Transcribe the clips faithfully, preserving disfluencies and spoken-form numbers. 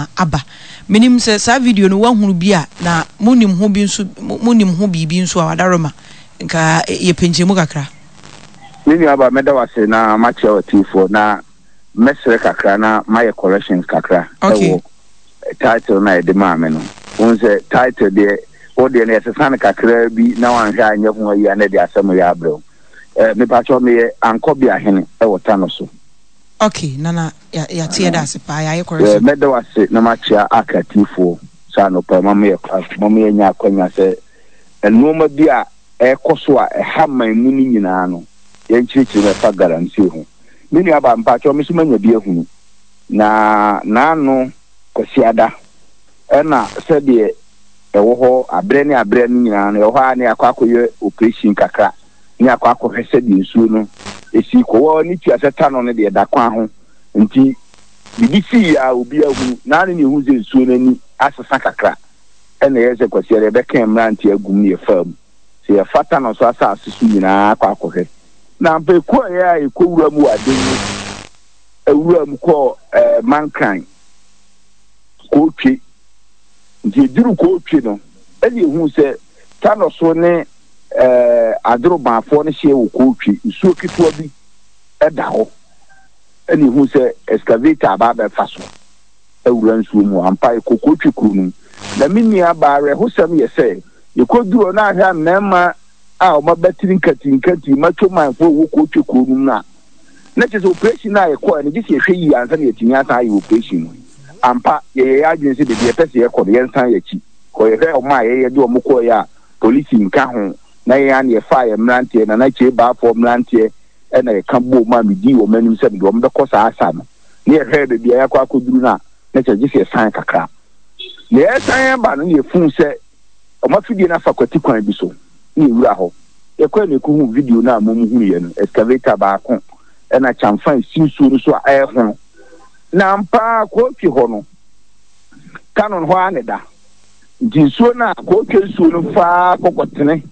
nyinaa aba. Menim sɛ saa video no woahunu bi a, na monim ho bi nso, monim ho biribi nso a, wadaroma nka yɛpɛ nkyɛmu kakra. Me nuaba, mɛda wo ase na makyerɛ w'atiefoɔ, na mɛsrɛ kakra na mayɛ corrections kakra Okay. ɛwɔ title na yɛde maa me no. Wohu sɛ title deɛ, wo deɛ no yɛsesa no kakraa bi na wanhwɛ anyɛ ho ayi a, na ɛde asɛm yɛ abrɛ wo. Eh, mepakyɛw, meyɛ Ankɔbeahene ɛwɔ Tano so. Okay, Nana, yɛate, yɛda ase paa, yɛayɛ Eh, correction. Mɛda wo ase na makyea aka atiefoɔ sɛ anɔpa ma moyɛ ma moyɛnya akwanya sɛ nneɛma bi a ɛkɔ so a ɛha man mu no nyinaa no, yɛnkyerɛkyerɛ mu ɛfa galamsey ho. Me nuaba, mpakyɛw, me so manya bi ahunu na naano Kwasiada ɛna sɛdeɛ ɛwɔ hɔ aberɛ ne aberɛ no nyinaa no, ɛwɔ hɔ a ne akɔ akɔyɛ operation kakra ne akɔ akɔhwɛ sɛdeɛ nsuo no esi kɔ wɔ ne tua sɛ Tano no deɛ da kwan ho, nti biribi sii a obi ahunu naano ne ehu sɛ nsuo no ani asesa kakra. Ɛna ɛyɛ sɛ Kwasiada yɛbɛka mmeranteɛ agum ne yɛfaa mu sɛ yɛfa Tano so asase so nyinaa akɔ akɔhwɛ, na mpa ekɔɔ yɛ a ekɔ wura mu wɔ ade mu, ewura mu kɔɔ ɛɛ Mankran Kootwe. Nti eduru Kootwe no, ɛna ehu sɛ Tano so ne ɛɛ adorobaafoɔ no hyɛ wɔ Kootwe, nsuo ketewa bi ɛda hɔ, ɛna ehu sɛ excavator aba abɛfa so awura nsuo mu. Ampa, ekɔ Kootwe kuro no mu. Na me nua baa, awerɛhosɛm yɛ sɛ yɛkɔduru hɔ na ahwɛ a, mmarima a wɔn abatiri nkati nkati macho manfoɔ wɔ Kootwe kuro no mu no a, na kyerɛ sɛ operation a yɛkɔɔ no gye sɛ yɛhwɛ yie ansa na yɛtumi asan ayɛ operation no. Ampa, yɛyɛ yɛ adwene sɛ baabi yɛpɛ sɛ yɛkɔ no, yɛnsan yɛkyi kɔ yɛhwɛ ɔmo a yɛyɛ de ɔmo kɔɔ yɛ a polisi nka ho, na yɛn a na yɛfa yɛ mmeranteɛ Nana Kyei Baafoɔ mmeranteɛ, ɛna yɛka bom a medii wɔn anim sɛ mede wɔn bɛkɔ saa asa no, ne yɛhwɛ baabi a yɛakɔ akɔduru no a, na kyerɛ gye sɛ yɛsan kakra. Na yɛsan ba no, na yɛfuu sɛ ɔmo afidie no afa kwati kwan bi so ne yɛwura hɔ. Yɛkɔɛ na yɛkɔhu video no a mo mu huiɛ no, excavator baako ɛna kyamfa esi nsuo no so a ɛɛhono. Na ampa, Kɔɔtwe hɔ no, Tano no hɔ ara ne da, nti nsuo no a Kɔɔtwe nsuo no faa kɔkɔtene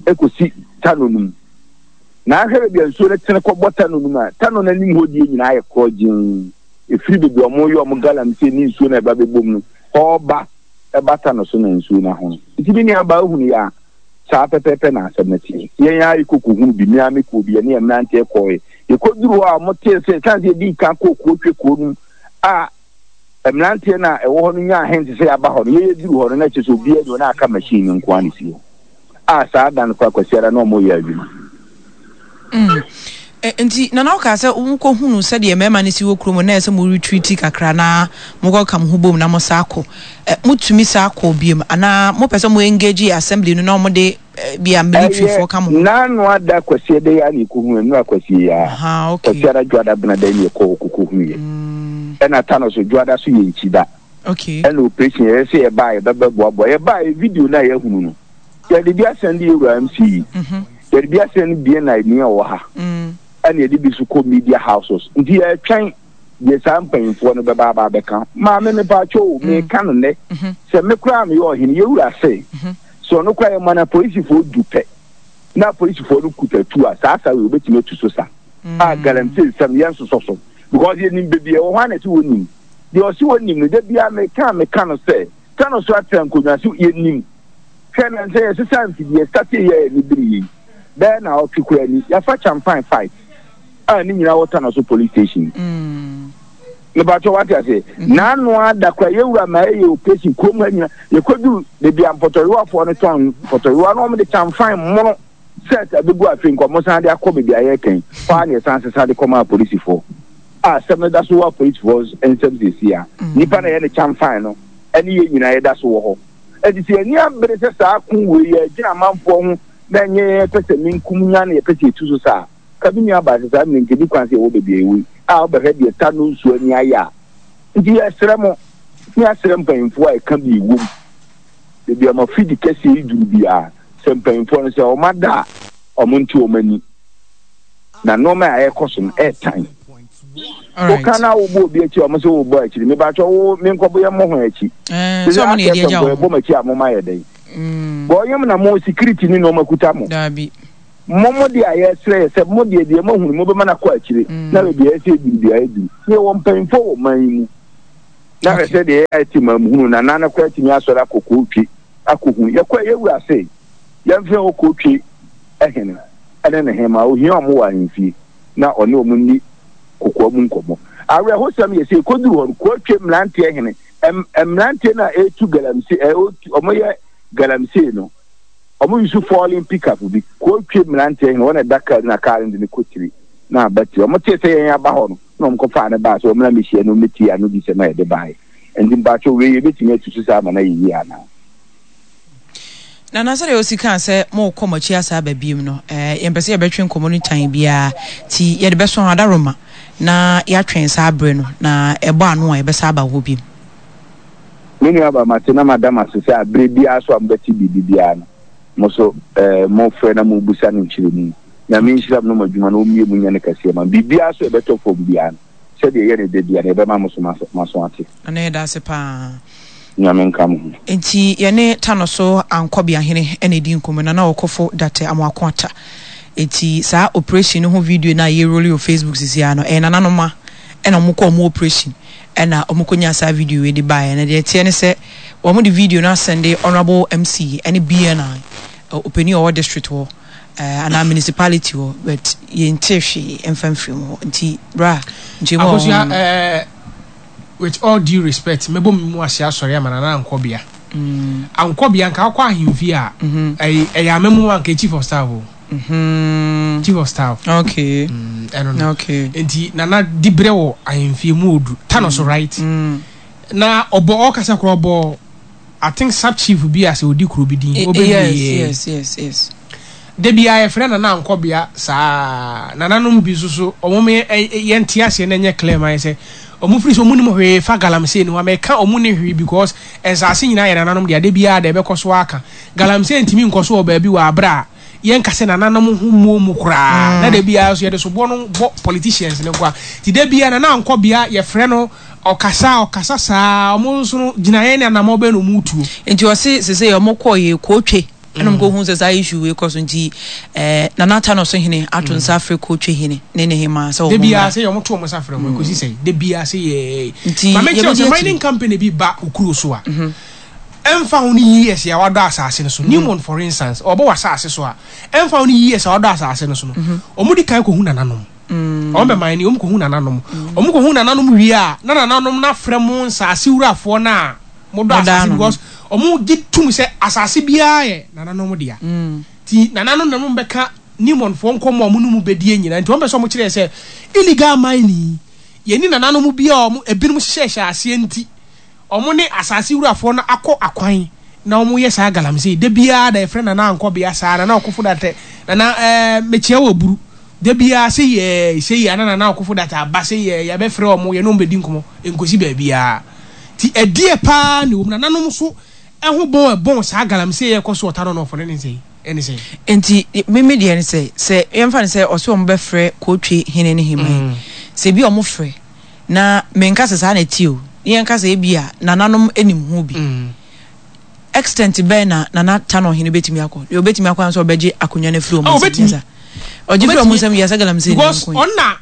ekosi Tano no mu, na ahwɛ baabi a nsuo no tene kɔbɔ Tano no mu a, Tano no anim hɔ die nyinaa yɛ korɔ gyeen. Efiri baabi a ɔmo yɛ ɔmo galamsey ne nsuo no a ɛba bɛbom no ɔɔba ɛba Tano so na nsuo no ahono. Nti bi nua baa, ehunu yɛ a, saa pɛpɛɛpɛ na asɛm no teɛ. Yɛn a yɛkɔ hunu bi, mmea me kɔɔ bi, yɛne yɛn mmeranteɛ kɔɔɛ. Yɛkɔduru hɔ a, ɔmo tee sɛ san sɛ yɛdi kan kɔɔ Kootwe kuro no mu a, mmeranteɛ no a ɛwɔ hɔ no nyaa hint sɛ yɛaba hɔ no, yɛyɛ duru hɔ no, na kyerɛ sɛ obiara ni hɔ na aka machine no nko ara na esi hɔ a saa da no kora Kwasiara na ɔmo yɛ adwuma. Mm. Eh, nti Nana, woka sɛ wokɔhunu sɛdeɛ mmarima no si wɔ kurom na ɛsɛ mo retreat kakra na mokɔka mo ho bom na mo saa kɔ. Eh, motumi saa kɔ biom anaa mopɛ sɛ mo engage assembly no na ɔmode eh, bia military foɔ ka mo ho? Naano ada Kwasiada yi a na yɛkɔhunu nnura Kwasi yi a. Aha, okay. Kwasiada, Dwoada, Benada yi na yɛkɔ kɔkɔhunu yɛ. Mm, ɛna Tano so Dwoada so yɛ nkyi da. Okay. Ɛna operation yɛyɛ sɛ yɛbaa yɛbɛbɛ boaboa yɛbaa yɛ video no a yɛahunu no, yɛde bi asɛn de yɛwura M C yi, Mhm. yɛde bi asɛn B N I ni a ɔwɔ ha, Mm. ɛna yɛde bi so kɔ media houses. Nti yɛtwɛn deɛ saa mpanyinfoɔ no bɛba aba abɛka. Maame, mepaakyɛw o, meka no nnɛ Mhm. sɛ me koraa meyɛ ɔhene, yɛwura se Mhm. sɛ ɔno koraa yɛma no apolisifoɔ du pɛ na apolisifoɔ no kuta tu a, saa sa wei wobɛtumi atu so sa a galamsey nsɛm yɛnsosɔ so, because yɛnim baabi ɛwɔ hɔ a na ɛsɛ wɔnim deɛ ɔse wɔnim no. Da biara meka meka no sɛ Tano so atena nkonnwa so, yɛnim hwɛ na sɛ yɛsesa mfidie start yɛ ne bere yi bɛyɛ na ɔtwe kora ni, yɛafa champan five a ne nyinaa wɔ Tano so police station. Mm. Mebatɔ, wate ase? N'ano ada kora yɛwura ma ɛyɛ operation kurom ha nyina. Yɛkɔduru baabi a mpɔtɔyewafoɔ no tɔn mpɔtɔyewa no, wɔn de champan mono set abɛgu. Afei nkɔmɔ san de akɔ baabi a yɛkɛn hɔ a na yɛsan sesa de kɔma apolisifoɔ a asɛm no da so wɔ apolisifoɔ nsɛm siesie a nipa na yɛ ne champan no ɛne yɛn nyinaa yɛda so wɔ hɔ. Ɛti sɛ yɛni abere sɛ saa ko wei yɛgyina amanfoɔ ho na ɛnyɛ yɛpɛ sɛ menkum nya na yɛpɛ sɛ yɛtu so saa ka bi nua baase saa mmerɛ nkɛdi kwan sɛ yɛwɔ baabi a yɛwɔ yi a wobɛhwɛ deɛ ta no nsuo ani ayɛ a. Nti yɛsrɛ mo ne yɛasrɛ mpanyimfoɔ a ɛka bi ɛwom baabi a mafidi kɛseɛ yi duru biara sɛ mpanyimfoɔ no sɛ ɔma da a, ɔmo nte ɔmo ani na nneɛma a ɛrekɔ so no ɛɛtan. Alright. Woka na wobɔ obi akyi a, ɔmo sɛ wobɔ akyiri. Mebatwɛ wo menkɔbɔ yɛ mmɔ ho akyi. Eh, sɛ ɔmo ne yɛde agya yɛbɔ wɔn. M'akyi a moma yɛ dɛn? Mm. Bɔ ɔyɛm na mo security ne nneɛma kuta mo. Daabi. Mo mo deɛ a yɛsrɛ yɛ sɛ mo deɛ deɛ moahunu mobɛma no akɔ akyire Mm. na baabi a ɛsɛ ɛduru biara ɛduru. Ne yɛwɔ mpanyimfoɔ wɔ man yi mu. Na hwɛ sɛ deɛ ɛyɛ ti ma muhunu na nana kora tumi asɔre akɔ kootwe akɔhu yɛkɔ yɛwura se yɛmfrɛ hɔ kootwe ɛhene ɛne ne hema ohia ɔmo wɔ ahemfie na ɔne ɔmo ni kokoa mu nkɔmmɔ. Awerɛhosɛm yɛ sɛ ɛkɔduru hɔ no, kootwe mmeranteɛ hene mmeranteɛ no a ɛtu galamsey, ɔmo yɛ galamsey no, ɔmo use falling pickup bi. Kootwe mmeranteɛ hene wɔn ɛda kaa na kaa no de ne kɔtiri na aba tiri. Ɔmo tee sɛ yɛn aba hɔ no na ɔmo kɔfaa ne baa sɛ ɔmo na mehyia no ɔmo ano di sɛm a yɛde baeɛ. Nti mpakyɛw wei yɛbɛtumi atu so saa ama no ayɛ yie anaa? Na na sɛdeɛ osi kaa sɛ mokɔ mo akyi asa aba biem no, eh, yɛmpɛ sɛ yɛbɛtwe nkɔmmɔ no tan biara, nti yɛde bɛso ho adaroma na yɛatwɛn saa berɛ no na ɛbɔ ano a yɛbɛsa aba hɔ biem. Me nua ba, mate na madam ase sɛ abere biara so a mobɛte biribi biara no, mo so eh, mofrɛ na mobusa no nkyerɛmu. Nyame nhyira mo no mo adwuma no ɔmmie mu nyɛ no kɛseɛ ma biribiara so ɛbɛtɔ fam biara no, sɛdeɛ ɛyɛ ne da biara no yɛbɛma mo so maso ate. Ana yɛda ase paa. Nyame nka mo ho. Nti yɛne Tano so Ankɔbeahene ɛna ɛdi nkɔmmɔ na na ɔkɔfo Date Amoako Ata. Nti saa operation no ho video no a yɛroli wɔ Facebook sisi a no, ɛyɛ nananom a ɛna ɔmo kɔ ɔmo operation ɛna ɔmo kɔnya saa video yi de baeɛ. Na deɛ ɛteɛ ne sɛ wɔn de video no asɛnde Honourable M C ɛne B N I ɔpanin a ɔwɔ district hɔ anaa municipality hɔ, but yɛnte hwee ɛmfa mfiri mu hɔ. Nti bra nkyɛn mu a Akosua, ɛɛ, with all due respect, mɛbɔ mi mu ase asɔre ama Nana Ankɔbea. Ankɔbea nka akɔ ahemfie a, ɛyɛ ɛyɛ amamu anka chief of staff o. Chief of staff. Okay ɛno no. Okay nti Nana di brɛ wɔ ahemfie mu odu Tano so, right? Na ɔbɔ ɔkasa korɔ, ɔbɔ, I think, sub chief bi a sɛ odi kuro bi din. yes yes yes yes Debi a yɛfrɛ Nana Ankɔbea saa, nananom bi nso so ɔmo yɛnte aseɛ na ɛnyɛ clear ma yɛ sɛ ɔmo firi sɛ ɔmo nim hwee fa galamsey no ho. Amɛka ɔmo ne hwee because nsaase nyinaa yɛ nananom deɛ. Ade biara de ɛbɛkɔ so aka galamsey ntumi nkɔ so wɔ baabi wɔ abere a yɛnka sɛ nananom ho muo mu koraa. Na de biara so yɛde soboɔ no bɔ politicians no nkoa. Nti de biara Nana Ankɔbea yɛfrɛ no, ɔkasa ɔkasa saa, ɔmo nso no gyinaeɛ ne anamɔ bɛn na ɔmo tuo? Nti ɔse sese ɔmo kɔɔ yɛ kootwe ɛna ɔmo kɔhu sɛ saa issue wei kɔ so. Nti ɛɛ Nana Tano so hene ato nsa afrɛ kootwe hene ne ne hema sɛ ɔmo mmra. Sɛ ɔmo to ɔmo nsa frɛ mo ekosi sɛ de biara sɛ yɛ Nti maame kyerɛ sɛ mining company bi ba okuro so a, ɛnfa ho ne years a wadɔ asase no so. Newmont, for instance, ɔbɔ wɔ asase so a, ɛnfa ho ne years a wadɔ asase no so no, ɔmo di kan kɔhu nananom. Ɔmo bɛ man ni, ɔmo kɔhu nananom. Ɔmo kɔhu nananom wie a, na nananom n'afrɛ mo nsaase wurafoɔ na mo dɔ asase, because ɔmo gye tum sɛ asase biara yɛ nananom dea. Ti nananom nanom bɛka Newmontfoɔ nkɔmɔ a ɔmo no mu bɛdie nyinaa. Nti wɔn pɛ sɛ ɔmo kyerɛ sɛ illegal mining yɛni nananom bi a ɔmo ebinom hyehyɛ aseɛ, nti ɔmo ne asase wurafoɔ no akɔ akwan na ɔmo yɛ saa galamsey. De biara da yɛfrɛ Nana Ankɔbea saa, Nana Ɔkofo Datɛ, Nana ɛɛ mekyia wɔ buru de biara sɛ yɛ sɛ yɛ ana Nana Ɔkofo Datɛ aba sɛ yɛ yɛbɛfrɛ ɔmo, yɛne ɔmo bɛdi nkɔmɔ nkosi baabiara. Ti ɛdeɛ paa ne wɔm nananom so ɛho bɔn ɛbɔn saa galamsey yɛ kɔ so ɔta no nɔfo ne ne nsɛn ɛne sɛn? Nti mímí deɛ ne sɛ sɛ yɛmfa ne sɛ ɔsɛ ɔmo bɛfrɛ kootwe hene ne hema yi, sɛ ebi ɔmo frɛ na menka sɛ saa na ɛti o, ne yɛnka sɛ ebi a nananom anim ho bi, extent bɛn na Nana Tano hene bɛtumi akɔ? Deɛ obɛtumi akɔ anso ɔbɛgye akonnwa no afiri ɔmo nsam. Nyɛ ɔgye firi ɔmo nsam yɛ sɛ galamsey. Because ɔna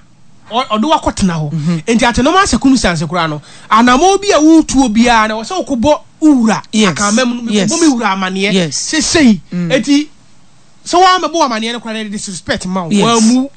ɔde wakɔtena hɔ. Nti at normal circumstance koraa no, anamɔ bi a wotuo biara na wɔsɛ wokɔbɔ wura akama mu no, mekɔbɔ me wura amaneɛ sesei. Eti sɛ wɔamɛbɔ wɔ amaneɛ no koraa no, disrespect ma wo wɔamu.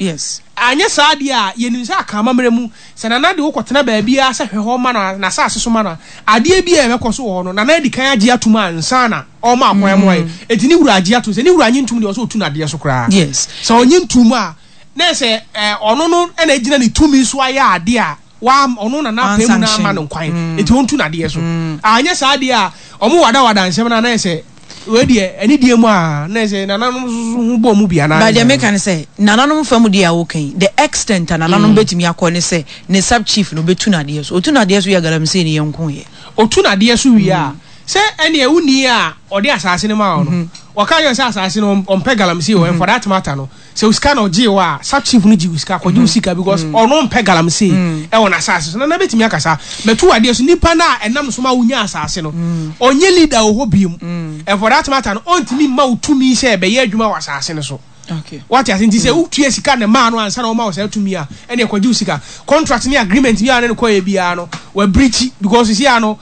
Anyɛ saa deɛ a, yɛnim sɛ akama mmerɛ mu sɛ nana de wokɔtena baabiara sɛ hwɛ hɔ ma no n'asase so ma no, adeɛ bi a ɛbɛkɔ so wɔ hɔ no, nana adi kan agye atom ansa na ɔma akwan mu ayɛ. Eti ne wura agye atom. Sɛ ne wura nye ntom deɛ, ɔsɛ ɔtu n'adeɛ so koraa. Sɛ ɔnye ntom a, na sɛ ɔno no ɛna gyina ne tumi so ayɛ adeɛ a wa ɔno na n'apɛ mu na ama no nkwan, eti ɔntu n'adeɛ so. Anyɛ saa adeɛ a, ɔmo wadawada nsɛm na anayɛ sɛ wei deɛ ɛne deɛ mu a na sɛ nananom nso ho bɔ ɔmo bi anaa? But deɛ meka ne sɛ nananom fa mu deɛ a wɔka yi, the extent a nananom bɛtumi akɔ ne sɛ ne sub chief no bɛtu n'adeɛ so. Otu n'adeɛ so yɛ galamsey ne yɛn nko yɛ. Otu n'adeɛ so wie a, sɛ ɛnea wuni a ɔde asase no ma wo no, wɔka yɛ sɛ asase no ɔmpɛ galamsey wɔ, and for that matter no, sɛ sika na ɔgye wɔ a, sub chief no gye wo sika, kɔgye wo sika, because ɔno mpɛ galamsey ɛwɔ n'asase so. Nana bɛtumi akasa mɛtu adeɛ so. Nipa no a ɛnam so ma wonya asase no, ɔnyɛ leader wɔ hɔ biem, and for that matter no, ɔntumi mma wo tumi sɛ ɛbɛyɛ adwuma wɔ asase no so. Okay. Wate ase? Nti sɛ wotua sika ne maa no ansa na wɔma wo saa tumi a, ɛne ɛkɔgye wo sika. Contract ne agreement biara ne no kɔyɛ biara no, wabirikyi because sisi a no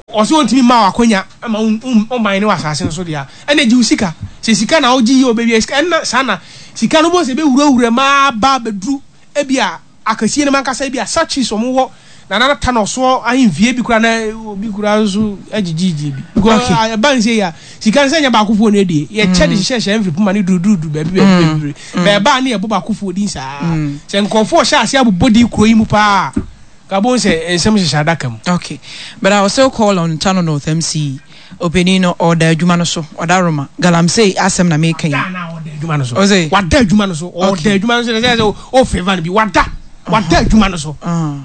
ɔsɛ ɔntumi mma wo akonya ma ɔman ne wɔ asase no so deɛ a, ɛna gye wo sika. Sɛ sika na wogye yie ɔbɛwia sika, ɛnna saa na sika no bɔ sɛ ɛbɛwurawura mu aba abɛduru ebi a akɛseɛ no mu ankasa, ebi a sachets wɔn wɔ Nana ta na ɔsoɔ ahemfie bi koraa na obi koraa nso agyegyeegye bi. Because okay. Ɛba nse yi a, sika nsɛ nyɛ baakofoɔ no adie. Yɛkyɛ de hyehyɛ hyɛ mfiri poma ne duruduruduru baabi baabi baabi. Bɛɛba ne yɛbɔ baakofoɔ din saa. Sɛ nkurɔfoɔ hyɛ ase abobɔ din kuro yi mu paa, ka bo sɛ nsɛm hyehyɛ adaka mu. Okay. But I will still call on Tano North M C. Opanin no, ɔda adwuma no so, ɔda Roma. Galamsey asɛm na meka yi. Wada na ɔda adwuma no so. Ɔse? Wada adwuma no so. Ɔda adwuma no so. Sɛ sɛ o favour no bi wada. Wada adwuma no so.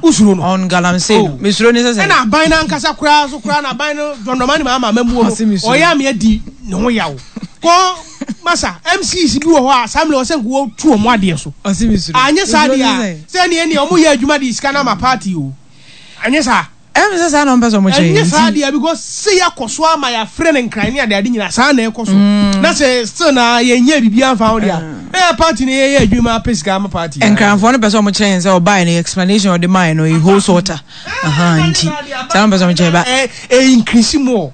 Usuro no. On galamsey no. Mesuro ne sɛ sɛ. Ɛna aban no ankasa koraa so koraa na aban no John Dramani Mahama amamuo no. Ɔyɛ ame adi ne ho yaw. Kɔ masa M Cs bi wɔ hɔ a saa mmerɛ ɔsɛ nko wɔtu wɔn adeɛ so. Ɔse mesuro. Anyɛ saa deɛ a sɛ neɛ neɛ ɔmo yɛ adwuma de sika no ama party o. Anyɛ saa. Ɛm sɛ saa na ɔmpɛ sɛ ɔmo kyerɛ. Ɛnyɛ saa deɛ, because sɛ yɛakɔ so ama yɛafrɛ no nkran ne adeade nyinaa saa na ɛkɔ so na sɛ still na yɛnyɛ biribi amfa ho deɛ a, ɛyɛ party no yɛyɛ adwuma apɛ sika ama party. Nkranfoɔ no pɛ sɛ ɔmo kyerɛ yɛn sɛ ɔbaeɛ no, explanation ɔde maeɛ no, ɛyɛ whole water nti saa na ɔmpɛ sɛ ɔmo kyerɛ ba. Ɛ increase more.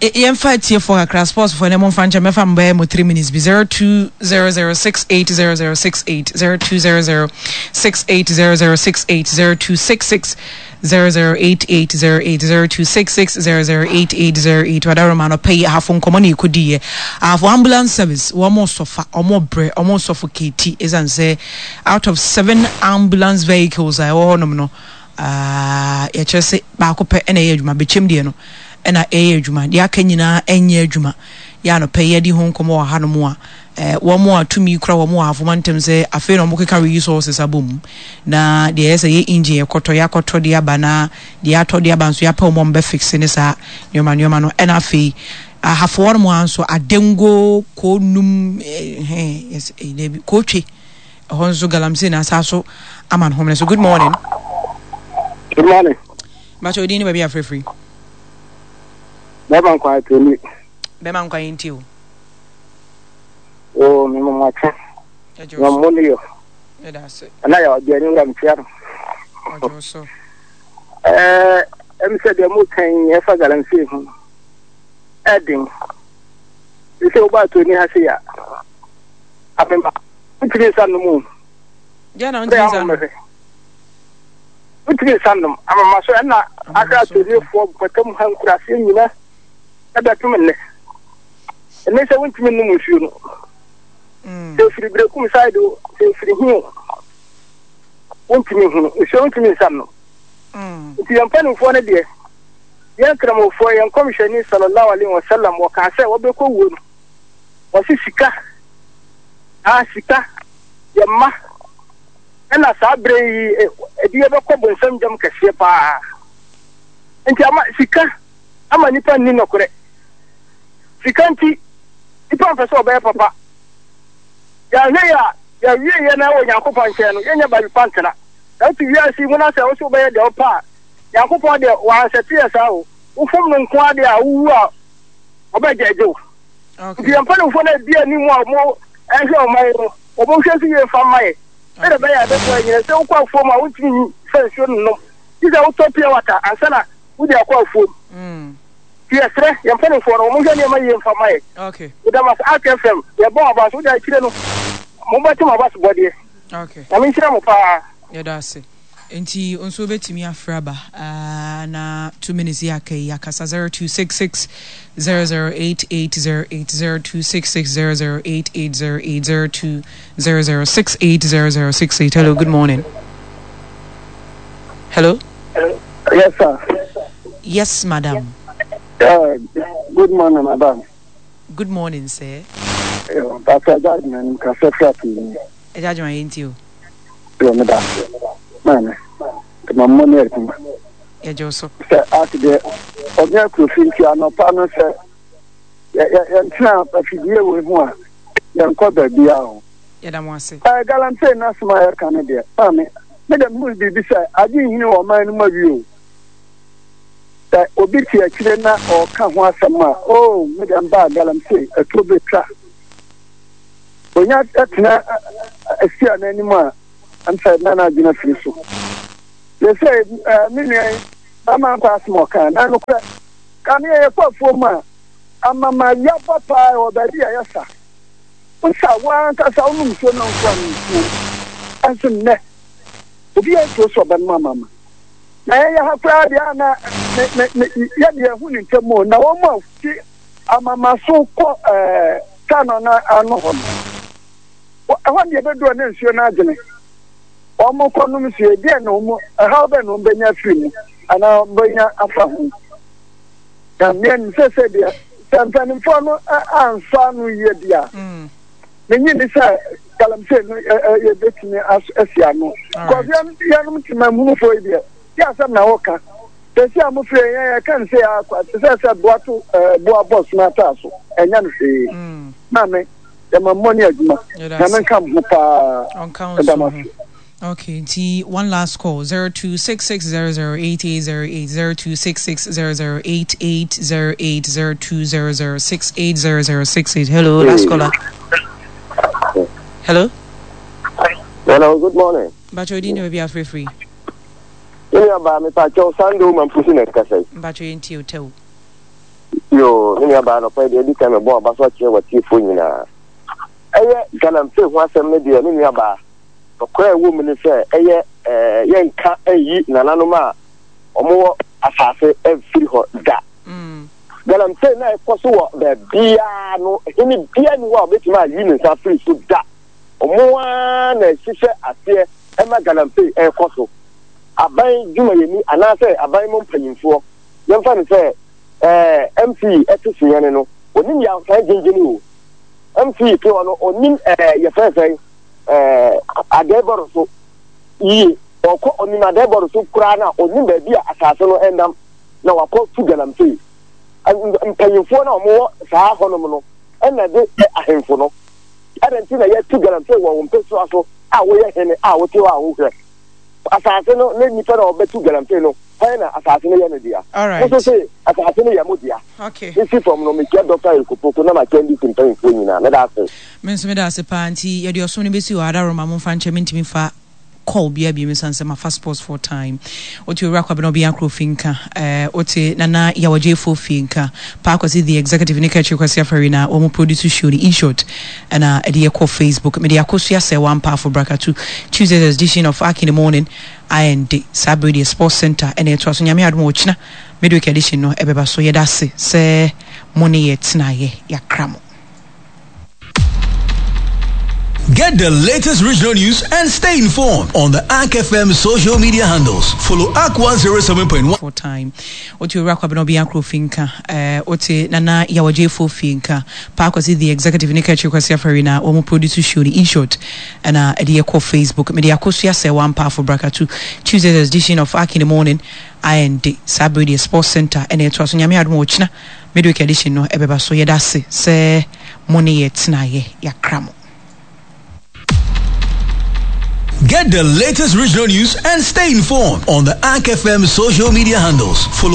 Yɛmfa atiefoɔ kakra, sportsfoɔ ne momfa nkyɛn, mɛfa mo bɛyɛ mo three minutes bi. Zero two zero zero six eight zero zero six eight, zero two zero zero six eight zero zero six eight, zero two six six zero zero eight eight zero eight, zero two six six zero zero eight eight zero eight. Wadaroma no pɛ yi, Ahafo nkɔmɔ na ɛkɔdiiɛ. Ahafo Ambulance Service, wɔn mo sɔfa, wɔn brɛ, wɔn suffocate, ɛsiane sɛ out of seven ambulance vehicles a ɛwɔ hɔnom no, yɛkyerɛ sɛ baako pɛ ɛna ɛyɛ adwuma. Bɛkyɛm deɛ no ɛna ɛyɛ adwuma, deɛ aka nyinaa ɛnyɛ adwuma. Yɛ anɔpɛ yɛde ho nkɔmɔ wɔ hanom a, wɔn a tumi kura wɔn wɔ Ahafo ntam sɛ afei na wɔn keka resources abɔ mu na deɛ ɛyɛ sɛ yɛ engine yɛkɔtɔ, yɛakɔtɔ de aba, na deɛ atɔ de aba nso yɛapɛ wɔn a wɔbɛ fix ne saa nneɛma nneɛma no. Ɛna afei Ahafo wɔn mu nso Adengo Koonum ɛɛ ɛɛ Kootwe ɛhɔ nso galamsey na asa so ama no homene so. Good morning. Good morning. Bàtchɛ, odin ne baabi afrɛfiri? Bɛrima nkwan atoni. Bɛrima nkwan yi nti o. O mi mo matwe. Na mo ne yɔ. Ɛna yɛ ɔdi ani wura mtia no. Ɔdwo so. Ɛɛ ɛmi sɛ deɛ mo kan yi ɛfa galamsey ho. Ɛden. Sɛ wo ba atoni ha se ya. Abema. Ntumi nsa nom o. Deɛ na ntumi nsa nom. Ntumi nsa nom. Amama so ɛna ahwɛ atonifoɔ mpɔtam ha nkuraseɛ nyina ɛbɛtom nnɛ. Ɛne sɛ wontumi nnom nsuo no. Sɛ ɛfiri Berekum side o, sɛ ɛfiri hi o, wontumi hunu nsuo, wontumi nsa nom. Nti yɛn mpanimfoɔ no deɛ, yɛn Kramofoɔ, yɛn Kɔmhyɛni sallallahu alaihi wasallam wɔkaa sɛ wɔbɛkɔ wuo no, wɔse sika ah sika yɛ mma, ɛna saa berɛ yi ɛde yɛbɛkɔ bonsam gyam kɛseɛ paa. Nti ama sika ama nipa nni nɔkorɛ. Sika nti nipa mpɛ sɛ ɔbɛyɛ papa. Yɛahwɛ yɛ a yɛawie yɛ na wɔ Nyankopɔn nkyɛn no, yɛnyɛ baabi pa ntena. Na wote wiase yi mu na sɛ wo sɛ wobɛyɛ deɛ wopɛ a, Nyankopɔn deɛ wansɛte yɛ saa o. Wofom no nko ara deɛ a, wowu a ɔbɛgyɛgye wo. Nti yɛn mpanimfoɔ no a ɛdi anim a wɔn ɛhwɛ ɔman no, wɔn nhwɛ so yie mfa mma yɛ sɛdeɛ ɛbɛyɛ a ɛbɛboa yɛn nyinaa. Sɛ wokɔ afuom a, wontumi nyi sɛ nsuo no nom gye sɛ wotɔ pure water ansa na wode akɔ afuom. Nti yɛsrɛ yɛn mpanimfoɔ no, wɔn nhwɛ nneɛma yie mfa mma yɛ. Meda mo ase. Ark F M, yɛbɔ mo aba so wode akyire no, mobɛte mo aba so bɔdeɛ. Nyame nhyira mo paa. Yɛda ase. Nti nso wobɛtumi afrɛ aba uh, na two minutes yi aka yi akasa. zero two six six zero zero eight eight zero eight, zero two six six zero zero eight eight zero eight, zero two zero zero six eight zero zero six eight. Hello, good morning. Hello. Yes, sir. Yes, madam. Uh, good morning, madam. Good morning, sir. Uh, Pastor Judgment, kasa fira. Ɛgya adwuma yɛ nti o. Yɛ me da. Maame, ma mmɔ ne adwuma. Yɛgye wo so. Sɛ ase deɛ, ɔnyɛ akurofi nti anɔpa no sɛ yɛntena afidie wei ho a, yɛnkɔ baabi a o. Yɛda mo ase. Ɛɛ galamsey n'asɛm a yɛka no deɛ, maame, me dɛ mehu biribi sɛ agye nhini wɔ ɔman no mu awie o. Sɛ obi te akyire na ɔka ho asɛm a, oo, me dɛ mbaa galamsey ɛtuo bɛtwa. Onya tena asi a n'anim a ɛmfa na n'adwene afiri so. Yɛsɛ me nua yi ama nkɔ asɛm ɔka na nokorɛ ka ne yɛyɛ kɔ afuo mu a amama yaba paa wɔ baabi a yɛsa. Wosa wankasa wonom nsuo no nkoa no nsuo. Ɛnso nnɛ obi yɛ nsuo so ɔbɛnom amama. Na yɛyɛ ha koraa deɛ a na yɛde yɛn ho ne ntam o na wɔn a ti amama so kɔ ɛɛ kano na ano hɔ no. Ɛhɔ deɛ bɛduru ne nsuo no adwene. Wɔn kɔnom nsuo deɛ na wɔn ɛhaw bɛ na wɔn bɛnya afiri mu anaa wɔn bɛnya afa ho. Na mmea nim sɛ sɛ deɛ sɛ mpanimfoɔ no ansɔ ano yie bi a menyi ni sɛ galamsey no yɛbɛtumi asi ano. Kɔs yɛnom tema munufoɔ yi deɛ yɛ asɛm na wɔka. Sɛsi a mofiri yɛn yɛka ne sɛ yɛ akɔ te sɛ sɛ boa to boa bɔ soma ataa so ɛnyɛ no hwee. Maame yɛma mmɔ ne adwuma. Nyame nka mo ho paa. Ɛda mo ase. Okay, nti one last call zero two six six zero zero eight eight zero eight zero two six six zero zero eight eight zero eight zero two zero zero six eight zero zero six eight. Hello, last caller. Hello. Hello, good morning. Bacho di ne bi afre free. Ni aba me pa cho Sunday man pusi na kasa. Bacho yenti hotel. Yo, ni aba no pa de di kan me bo aba so che watiefo nyina. Eye galamsey ho asem ne de ni aba. Okra wo mu ne sɛ ɛyɛ eh yɛnka ayi nananom a ɔmo asase afiri hɔ da. Galamsey na ɛkɔ so wɔ baabia no hene bia ni hɔ a obetumi ayi ne nsa afiri so da. Ɔmo a na ɛhyehyɛ aseɛ ɛma galamsey ɛkɔ so. Aban dwumayɛni anaasɛ aban mu mpanyimfoɔ yɛmfa no sɛ ɛɛ M C ɛte so no onim yɛ asan gyingyini o. M C te hɔ no onim ɛɛ yɛfrɛ sɛn eh adeboro so yi ɔkɔ onim adeboro so kura na onim baabi a asase no ɛnam na wakɔ tu galamsey mpanyimfoɔ na ɔmo wɔ saa hɔnom no ɛna de ahemfo no ɛna nti na yɛtu galamsey wɔ wɔn mpɛsua so a wɔyɛ hene a wɔte hɔ a wɔhwɛ asase no ne nipa na ɔbɛtu galamsey no hɛn na asase no yɛ no dea mo so se asase no yɛ mo dea. Okay. Nsi fam no mekyia Doctor Erikopoko na makyia N D C mpanyimfoɔ nyinaa meda ase. Me nso meda ase paa nti yɛde ɔsom no bɛsi hɔ adaroma mo mfa nkyɛ mentumi fa call bia bi mesan sɛ mafa sports for time. Wote owura kwabena obi akro finka eh wote nana yawagye fo finka pa kwasi the executive ne kachi kwasi afari na wɔn produce show ni in short ɛna ɛde yɛkɔ Facebook mede akosua sɛ one powerful brakatu Tuesday's edition of Ark in the Morning I N D saa bere deɛ sports center ɛna ɛtoa so nyame adom ɔkyena midweek edition no ɛbɛba so yɛda ase sɛ mo ne yɛ tenaeɛ yɛakra mo. Get the latest regional news and stay informed on the A R C F M social media handles. Follow A R C one zero seven point one. For time. Ote owura kwabena obi akro finka. Eh ote nana yawagye fo finka. Pa kwasi the executive ne kachi kwasi afari na wɔn produce show ni in short. Ɛna ɛde yɛkɔ Facebook. Mede akosua sɛ one powerful brakatu Tuesday's edition of A R C in the Morning I N D saa bere deɛ sports center ɛna ɛtoa so nyame adom ɔkyena midweek edition no ɛbɛba so yɛda ase sɛ mo ne yɛ tenaeɛ yɛakra mo. Get the latest regional news and stay informed on the A R C F M social media handles. Follow